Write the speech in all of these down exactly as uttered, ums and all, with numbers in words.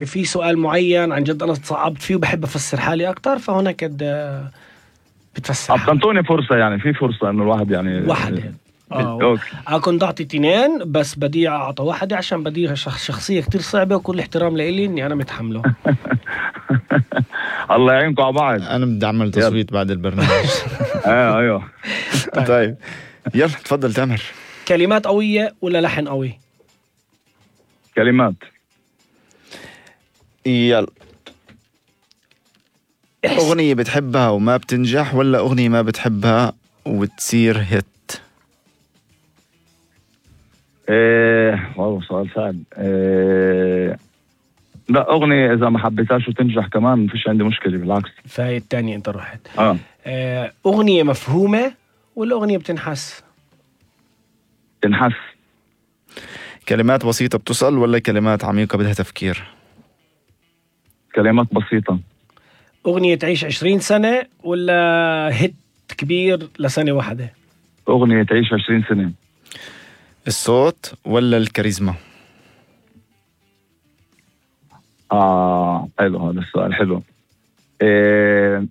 في سؤال معين عن جد أنا تصعبت فيه وبحب أفسر حالي أكتر، فهناك بتفسر حالي. أعطوني فرصة، يعني في فرصة إنه الواحد يعني واحدة. آه كنت أعطي تنين بس بدي أعطى واحدة عشان بديها شخصية كتير صعبة، وكل احترام لإلي إني أنا متحمله. الله يعينكم على بعض. أنا بدي أعمل تصويت بعد البرنامج. آه أيوه. طيب يلا تفضل تامر. كلمات قوية ولا لحن قوي؟ كلمات. يلا. أغنية بتحبها وما بتنجح ولا أغنية ما بتحبها وتصير هيت؟ ايه والله سؤال صعب. إيه لا، أغنية إذا ما حبيتهاش وتنجح كمان مفيش عندي مشكلة، بالعكس. فهي التانية أنت رحت. آه. آه أغنية مفهومة ولا أغنية بتنحس؟ تنحس. كلمات بسيطة بتصل ولا كلمات عميقة بدها تفكير؟ كلمات بسيطة. أغنية تعيش عشرين سنة ولا هيت كبير لسنة واحدة؟ أغنية تعيش عشرين سنة. الصوت ولا الكاريزما؟ آه حلو هذا السؤال، حلو. إيه...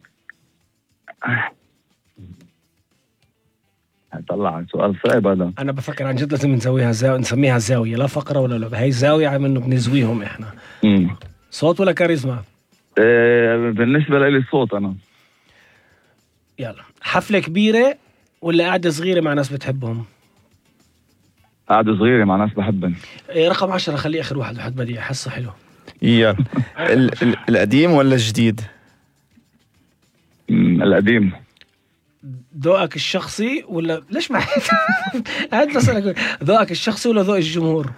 طلع سؤال صعب هذا. أنا بفكر عن جد لازم نسويها زاوية، نسميها زاوية، لا فقرة ولا لعبة، هاي زاوية عم إنه بنزويهم إحنا. مم. صوت ولا كاريزما؟ إيه... بالنسبة لي الصوت أنا. يلا، حفلة كبيرة ولا قاعدة صغيرة مع ناس بتحبهم؟ قاعدة صغيرة مع ناس بحبهم. إيه رقم عشرة، خليه آخر واحد، واحد بدي أحسه حلو. يلا. ال- ال- القديم ولا الجديد؟ القديم. ذوقك الشخصي ولا ليش ما قاعد بسألك ذوقك الشخصي ولا ذوق الجمهور؟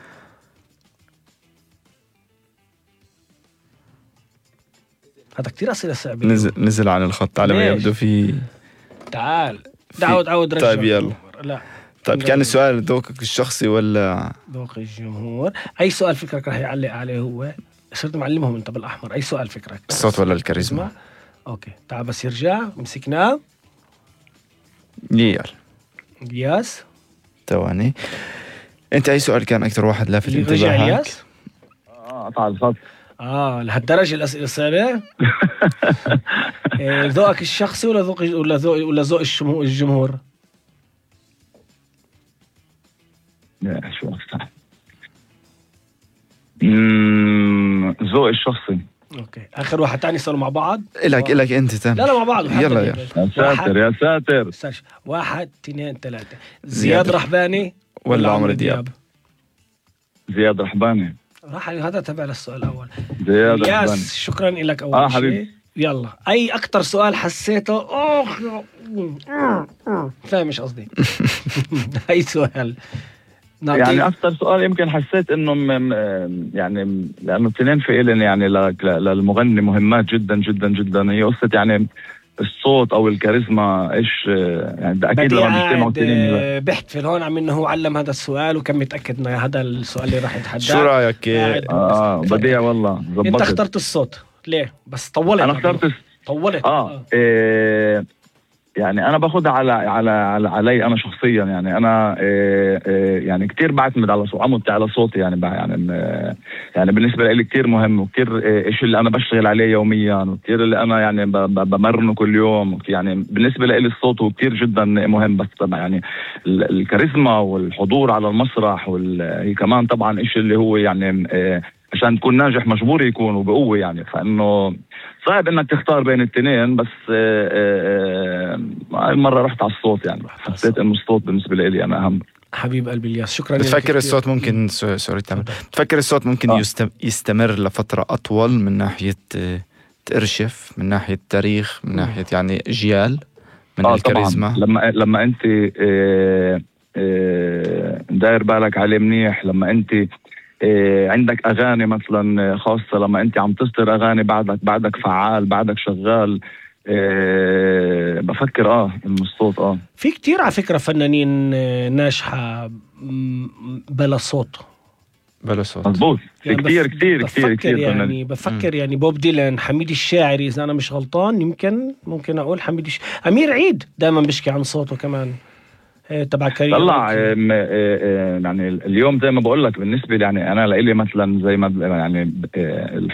هذا كتير أسئلة صعبة. نزل نزل عن الخط على ما يبدو. في تعال دعود عود رجل. طيب يلا. لا طيب كان السؤال ذوقك الشخصي ولا ذوق الجمهور؟ أي سؤال فكرك رح يعلق عليه هو؟ صرت معلمهم أنت بالأحمر. أي سؤال فكرك؟ الصوت ولا الكاريزما؟ أوكي تعال بس يرجع مسكناه. يلا الياس ثواني. أنت أي سؤال كان أكثر واحد لافت انتباهك؟ رجع الياس؟ آه قطع الخط. آه لهالدرجة الأسئلة الصعبة؟ ذوقك الشخصي ولا ذوق ولا ذوق ولا ذوق الجمهور؟ لا شو أصلا. اممم ذوق الشخصي. اوكي اخر واحد تاني صاروا مع بعض. إلك إلك انت تاني. لا لا مع بعض. يلا يلا. يا ساتر يا ساتر. واحد اثنين ثلاثة. زياد رحباني ولا عمرو دياب؟ زياد رحباني. راح هذا تبع للسؤال الأول. زياد رحباني. ياس شكرا لك أول آه شيء. حبيبي. يلا أي أكتر سؤال حسيته أوه فاهم مش قصدي. أي سؤال يعني أكثر سؤال يمكن حسيت إنه م... يعني لأنه الاثنين في إلن يعني ل... للمغني مهمات جدا جدا جدا. هي قصة يعني الصوت أو الكاريزما إيش يعني ده أكيد لما بيجتمعوا الاثنين. بحتفل هون عم إنه هو علم هذا السؤال وكان متأكد إنه هذا السؤال اللي راح يتحدى. شو رأيك؟ آه بديع والله زبطت. أنت اخترت الصوت ليه؟ بس طولت. أنا اخترت طولت. آه, آه. إيه يعني أنا باخدها على على على علي أنا شخصيا. يعني أنا إيه إيه يعني كتير بعتمد على صوت عمودي على صوتي. يعني يعني إيه يعني بالنسبة لي كتير مهم وكتير إيش اللي أنا بشتغل عليه يوميا وكتير اللي أنا يعني بمرنه كل يوم. يعني بالنسبة لي الصوت هو كتير جدا مهم. بس طبعا يعني الكاريزما والحضور على المسرح وهي كمان طبعا إيش اللي هو يعني إيه عشان تكون ناجح مجبور يكون وبقوة. يعني فإنه صعب إنك تختار بين الاثنين. بس هاي المرة رحت على الصوت. يعني حسيت إنه الصوت بالنسبة لي أنا أهم. حبيب قلبي الياس شكرا. بتفكر الصوت ممكن سوري تمام بتفكر الصوت ممكن آه. يستمر لفترة أطول من ناحية ترشف من ناحية تاريخ من ناحية يعني أجيال من آه الكاريزما؟ لما لما أنت اه اه داير بالك عليه منيح. لما أنت إيه عندك أغاني مثلا خاصة. لما أنت عم تصدر أغاني بعدك بعدك فعال بعدك شغال. إيه بفكر آه إنه الصوت آه في كتير على فكرة فنانين ناجحة بلا صوت. بلا صوت مضبوط. في يعني كتير كتير كتير كتير يعني فنانين. بفكر يعني بوب ديلان حميد الشاعري إذا أنا مش غلطان. يمكن ممكن أقول حميد الش... أمير عيد دائما بشكي عن صوته كمان. تبع كارير؟ طلع يعني اليوم زي ما بقول لك بالنسبه لي يعني انا لإلي مثلا زي ما يعني الحضور